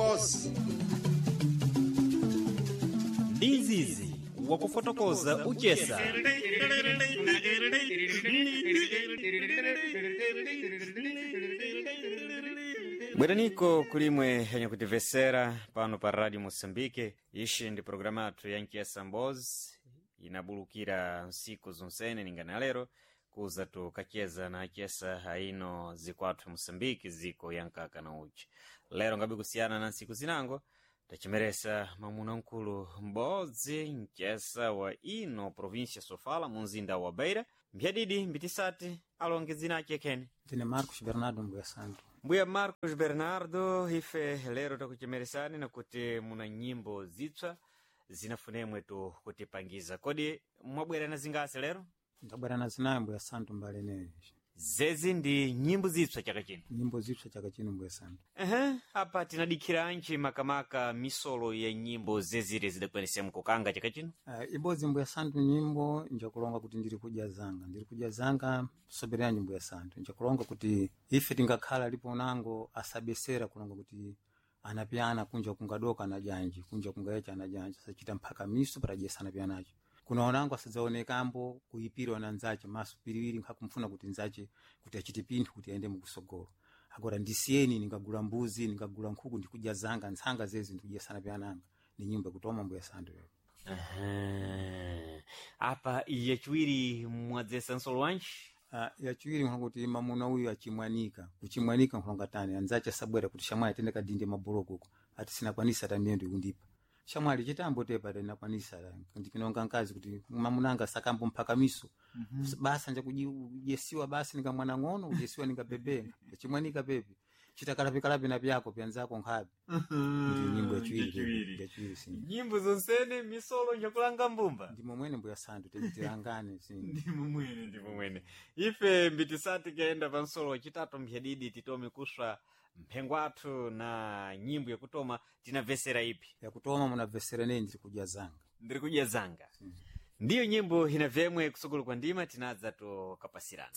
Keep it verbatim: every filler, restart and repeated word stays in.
Mbozi. Ndi izizi wakufotokoza uchesa. Bweraniko kulimwe yanyakutivesera pano pa Radio Moçambique. Ixi ndi programa yathu ya Nchesa Mbozi inabulukira nsiku zonsene ningana lero kuza tukacheza na achesa aino zikwathu Moçambique ziko ya nkaka na uchi. Lero ngabe kusiyana na nsiku zinango tachimeresa mwamuna mkulu m'bodzi mchesa wa ino província Sofala mu mzinda wa Beira mphiyadidi mbitisati alonge dzina ache khene. Ndine Marcos Bernardo Mbuya Santo. Mbuya Marcos Bernardo, ife lero takuchemeresani nakuti muna nyimbo zitswa zinafunemwe tu kutipangiza. Kodi mwabwera na zingasi lero? Ndabwera na zinayo Mbuya Santo mbali ineyo. Zezi ndi nyimbo zitswa chaka chino. Nyimbo zipsa chaka chino Mbuya Santo. Ehe, apa tinadikhiranji makamaka misolo ya nyimbo zezire zidakwanisa mkukanga chaka chino? Uh, ibodzi Mbuya Santo nyimbo njakulonga kuti ndiri kudya zanga ndiri kudya zanga sobereranji Mbuya Santo njakulonga kuti ife tingakhala lipo nango asabesera kulonga kuti anapyana kunja kungadoka anajanji kunja kungayecha anajanji asachita mphaka miso parajesa anapyanacho kuna onango asadzaonekambo kuipira ona nzache maso piriwiri nkhakumfuna kuti nzache kuti achite pinthu kuti aende mukusogolo agora ndisiyeni ningagula mbuzi ningagula nkhuku ndikudya zanga ntsanga zezi ndikudya sanapyananga ni nyimbo yakutoma Mbuya Santo yo. Ehe. Apa yachiwiri mwadzesa nsolo wanji? Uh, yachiwiri nkhulonga kuti mamuna uyu achimwanika kuchimwanika nkhulonga tani anzache asabwera kuti shamwali tende kadinde mabuloko uko ati sinakwanisa ta miyendo ikundipa shamwali chitambo tepa tinakwanisa ndipinonga nkazi kuti mamunanga sakambo mphaka miso mm -hmm. basa nja kujesiwa basi ninga mwana ng'ono kujesiwa ninga bebe achimwanika pepe chitakalapi na pyako pyanzako nkhabe ndi nyimbo yachiwiri pepe, yachiwiri si Nyimbo zonsene misolo njakulanga mbumba. ndimo mwene Mbuya Santo tilangalane si Ndimo mwene, ndimo mwene. Ife mbitisati kuyenda pa nsolo wachitatu mphiyadidi titome kuswa mphengo athu na nyimbo yakutoma tinamvesera ipi. yakutoma munabvesera neni ndiri kudya zanga Ndiri kudya zanga. Ndiyo nyimbo inavyemwe kusukulu kwa ndima tinadza tukapasirana.